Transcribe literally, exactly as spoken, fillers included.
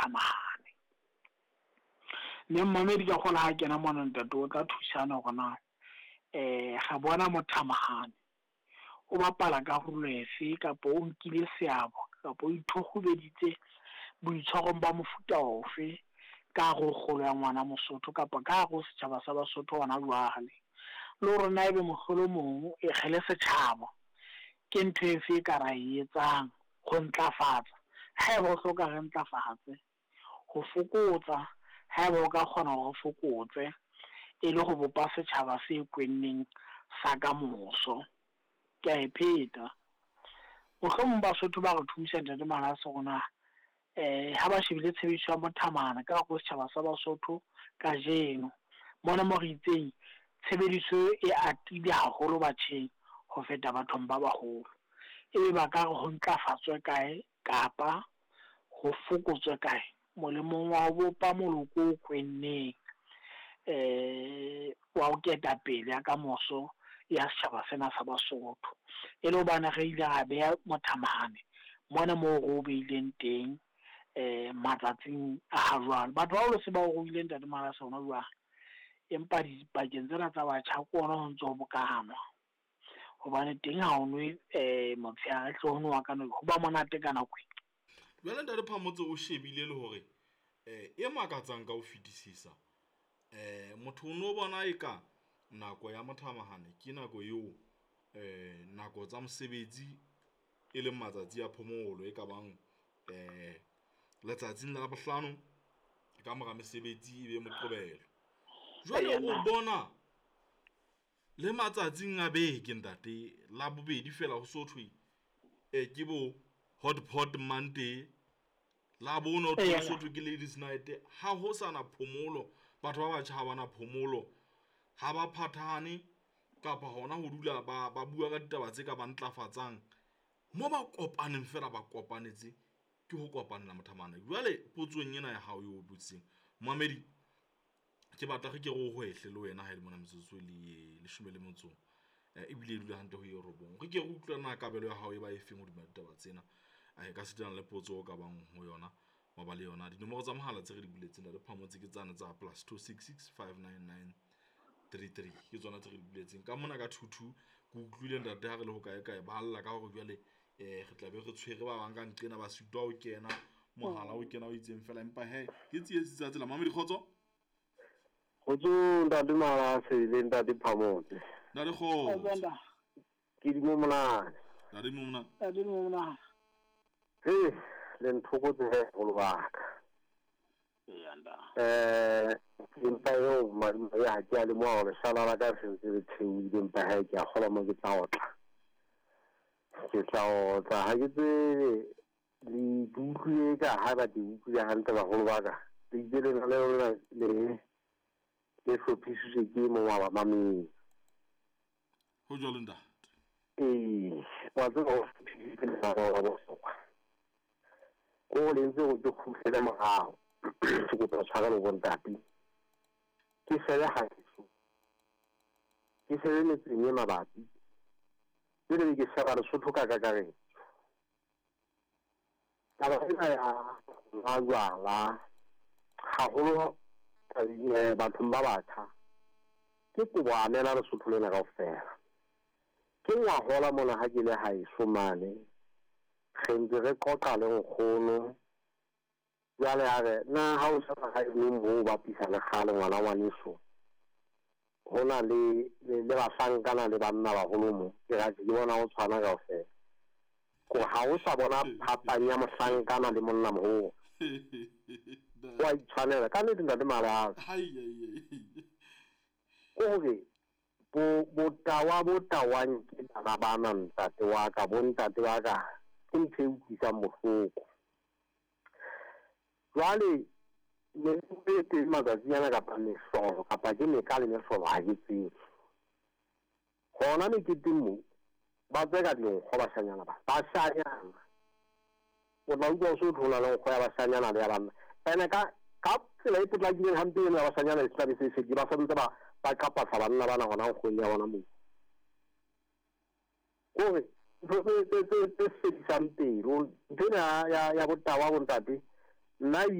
mothamahane. Mme mmamedi ka kgola ha kena mona ntate o tla thusana hore na eh re bona mothamahane o bapala karolo efe kapa o nkile seabo kapa o ithokgobeditse boitshwarong ba mofuta ofe ka hare ho kgolo ya ngwana Mosotho kapa ka hare ho setjhaba sa Basotho hona jwale. Le hore na ebe mohlolomong e kgele setjhaba ke ntho efe e ka ra e etsang ho ntlafatsa, haeba o hloka re ntlafatse, ho fokotsa haeba o ka kgona hore o fokotse e le ho bopa setjhaba se kwenneng sa kamoso. Ke a e pheta. Mohlomong Basotho ba re thusa ntate Malase hore na eh ha ba shebile tshebediso ya mothamahane ka hare ho setjhaba sa Basotho kajeno, mona mo re itseng tshebediso e atile haholo batjheng ho feta bathong ba baholo. Ebe ba ka re ho ntlafatswe kae kapa ho fokotswe kae molemong wa ho bopa moloko o kwenneng eh wa ho ketapele ya kamoso ya setjhaba sena sa Basotho. E le hobane re ile ra beha mothamahane mona moo re o beileng teng eh matsatsing a ha jwale. Batho ba baholo se ba o ruile ntate Malase hona jwale, empa dipakeng tsena tsa batjha ke ona ho ntso ho bokanwa. Hobane teng ha o nwe eh motshehare hle ho nowa ka nako, ho ba monate ka nako e. Jwale ntate Phamotse o shebile le hore eh e makatsang ka ho fetisisa, eh motho o no bona eka nako ya mothamahane ke nako eo eh nako tsa mosebetsi e leng matsatsi a phomolo e ka bang eh letsatsing la bohlano ka mora mesebetsi e be Moqebelo. Jwale o bona le matsatsing a beke ntate la bobedi fela ho so thwe eh ke bo hot pot Monday, la bone ho thwe so thwe ke ladies night. Ha ho sana phomolo, batho ba batjha ha bana phomolo, ha ba phathane kapa hona ho dula ba ba bua ka ditaba tse ka ba ntlafatsang. Mo ba kopaneng fela ba kopanetse ke ho kopanela mothamahane. Jwale potsong ena ya hao eo botseng momamedi, ke batla re ke re o hwehle le wena ha ele mona metsotso le leshome le motso ebile e dula hantle ho e robong. Re ke re utlwe na kabelo ya hao e ba e feng hodima ditaba tsena, e ka sitana le potso o ka bang ho yona maba le yona. Dinomoro tsa mohala tse re di buletseng ntate Phamotse ke tsane tsa plus two six six five nine nine three three, ke tsona tse re di buletseng. Ka mona ka two two ke utlwile ntate ha re le ho kae kae ba lla ka hore jwale eh re tla be re tshwere ba bang ka nqena ba sitwa ho kena mohala o kena o itseng fela, empa he ke tsietsi tsa tsela. Mamedi kgotso. Kgotso ntate Malase le ntate Phamotse. Ntate kgotso. Ke di monana. Ntate monana. Ntate monana. He le nthokotse he holo baka. Eya nda. Eh empa eo madi ya ha ke a le mo hore sala la ka se ntse le theohile, empa ha ke a kgola mo ke tla otla. Ke tla otla ha ke tsebe le utlwile ka ha ba di utlwile hantle baholo ba ka. Le itse le le lona le le hlophisitswe ke mong wa bamamedi. Ho jwalo ntate. Ee, wa tseba ho hlophisitswe lenaneo la bohlokwa. Ko le ntse ho ke kgutlele morao. Ke kopa tshwarelo bo ntate. Ke shebe haeso. Ke shebe metseng e mabapi. Pele ke sheba Lesotho ka kakaretso. Taba ena ya majwala haholo bathong ba batjha ke kobo amela Lesotho lena kaofela. Ke ngwahola mona ha ke le haeso mane, re ntse re qoqa le nkgono. Jwale a re na ha o sheba haeno moo o bapisa le kgale ngwana ngwaneso, ho na le le bahlankana le banna baholo mo. Ke ra ke bona ho tshwana kaofela. Ko ha o sa bona phapang ya mohlankana le monna moholo. Wa itshwanela ka nnete ntate Malase. Ko hore bo botawa bo tawang ke bana bana ntate wa ka, bo ntate wa ka, ke ntho e utlwisang bohloko. Jwale ne ke teng matsatsi ana kapa mehlolo kapa ke meka le mehlolo ha ke tsebe. Hona meketeng moo ba tseka dinkgo bashanyana ba, bashanyana. O tla utlwa o so thola le nkgo ya bashanyana le ya banna. Ene ka ka tsela e potlakileng hampe eno ya bashanyana e tla be se e fedile, ba santse ba ba qapasa banna bana hona nkgong ya bona moo. Kore ntho tse tse tse tse fedisang pelo, ntho ena ya ya botawa bo ntate, nna ebile